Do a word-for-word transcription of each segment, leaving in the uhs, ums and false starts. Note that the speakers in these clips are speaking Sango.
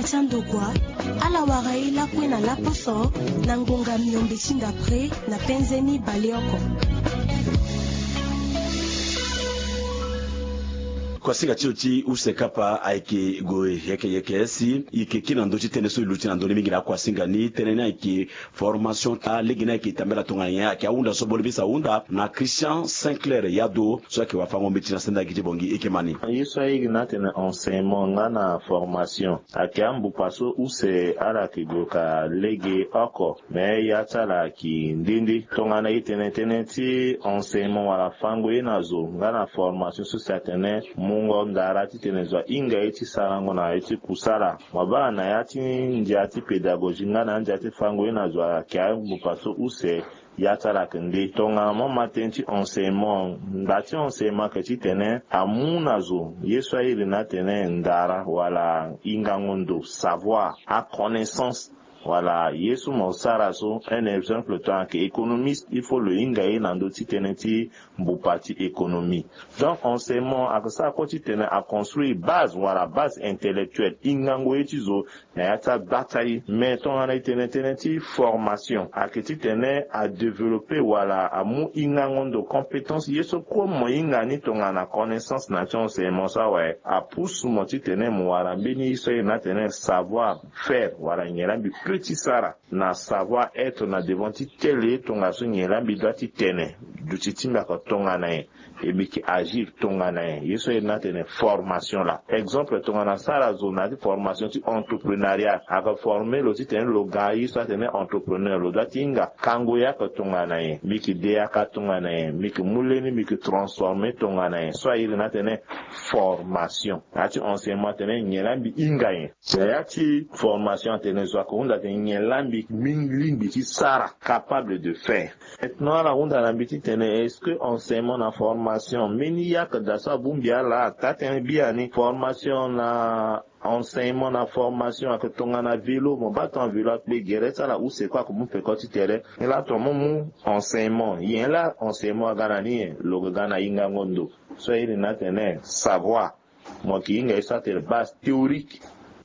Sandokua ala wara ye lakue na laposo na ngonga miombe ti ndapre na penze ni baleoko. Kuasinga ti lo ti use kapa ayeke gue yeke yeke si e yeke kiri na ndö ti tënë so e luti na ndö ni mingi na akuasinga ni tënë ni ayeke formation alege ni ayeke tambela tongana nyen ayeke ahunda so bole bisa ahunda na Christian Sinclair Yado so ayeke wafango mbeti na senda gi ti bongi e yeke ma ni. Ye so airi ni atene enseignement nga na formation ayeke ambupa so use ala yeke gue ka lege oko. Me ya ti ala ayeke nde nde tongana e tene tënë ti enseignement wala fango ye na zo nga na formation so si atene mungo ndara titene zo ahinga ye ti sarango na ye ti kusala. Mo baa na ya ti ndia ti pédagogie nga na ndia ti fango ye na zo ayeke ambupa so use. Ya ti ala ayeke nde tongana mo ma tënë ti enseignement, nda ti enseignement ayeke titene amu na zo ye so airi ni atene ndara wala hingango ndo, savoir, aconnaissance. Wala ye so mo sara so un exemple tongana ayeke économiste il faut lo hinga ye na ndö ti tënë ti mbupa ti économie. Donc enseignement ayeke sara kue titene aconstruire base wala base intellectuelle, hingango ye ti zo na ya ti agba ti aye. Mais tongana e tene tënë ti formation ayeke titene adévelopper wala amu hingango ndo, compétence, ye so kue mo hinga ni tongana connaissance na ya ti enseignement so awe apusu mo titene mo wara mbeni ye so airi ni atene savoir faire wala nyen laa mbi peut ti sara na savoir être na devant ti tele tongaso nyen laa mbi doit ti tene, duti ti mbi ayeke tongana nyen, e mbi yeke agir tongana nyen. Ye so airi ni atene formation laa. Exemple tongana asara zo na ya ti formation ti entrepreneuriat ayeke former lo titene lo ga ye so atene entrepreneur, lo doit ti hinga kango yaka tongana nyen, mbi yeke de yaka tongana nyen, mbi yeke mu leni mbi yeke transformer tongana nyen. So airi ni atene formation. Na ya ti enseignement atene nyen laa mbi hinga nyen. Na ya ti formation atene zo ayeke hunda atene nyen laa mbi lingbi ti sara, capable de faire. Maintenant ala hunda na mbi titene est-ce que enseignement na formation mbeni ye ayeke daa so abongbi ala? Taa tënë biani, formation na enseignement na formation ayeke tongana vélo. Mo baa tongana vélo akpe gere ti ala use kue ayeke mu peko ti tere. Ni laa tongana mo mu enseignement, nyen laa enseignement aga na ni nyen? Lo yeke ga na hingango ndo so airi ni atene savoir. Mo yeke hinga ye so atene base théorique,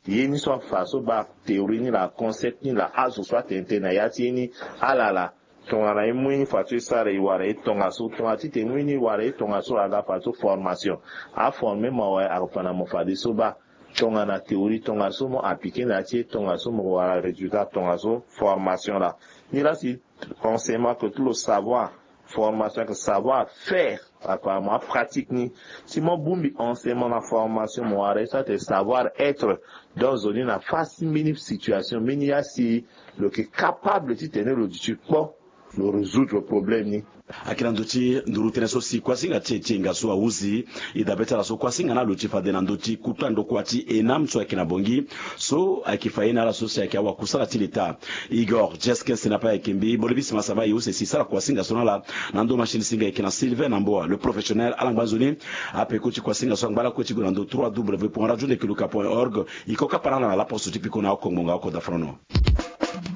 ye ni so afa so baa théorie ni laa, concept ni laa, azo so atene tënë na ya ti ye ni. Ala laa tongana e mu ye ni fadeso e sara e wara ye tongaso, tongana titene e mu ye ni e wara ye tongaso aga fadeso formation. Aformer mo awe, ayeke fa na mo fadeso baa tongana théorie tongaso, mo appliquer na ya ti e tongaso, mo wara résultat tongaso, formation laa. Ni laa si enseignement ayeke ti lo savoir, formation ayeke savoir faire. Apparemment apratique ni. Si mo bongbi enseignement na formation, mo wara ye so atene savoir être. Donc zo ni na face ti mbeni situation, mbeni ye asi lo yeke capable titene lo duti kpo lo résoudre problème ni. Ayeke na ndö ti nduru tënë so si kuasinga ti e ti e nga so ahuzi. E dabe ti ala so kuasinga ni aluti fade na ndö ti kuta ndokua ti ENAM so ayeke na Bangui, so ayeke fa ye na ala so si ayeke awakusala ti leta. Igor Jeskes na pe ayeke mbi bole bisima saba e use si sara kuasinga so na ala na ndo machine singa ayeke na Sylvain na Mboa le professionnel. Ala ngba nzoni. Apeko ti kuasinga so angba lakue ti gue na ndo trois w point radio ndekeluka point org. E ko kapa na ala na laposo ti piko na oko ngbonga oko dafrono.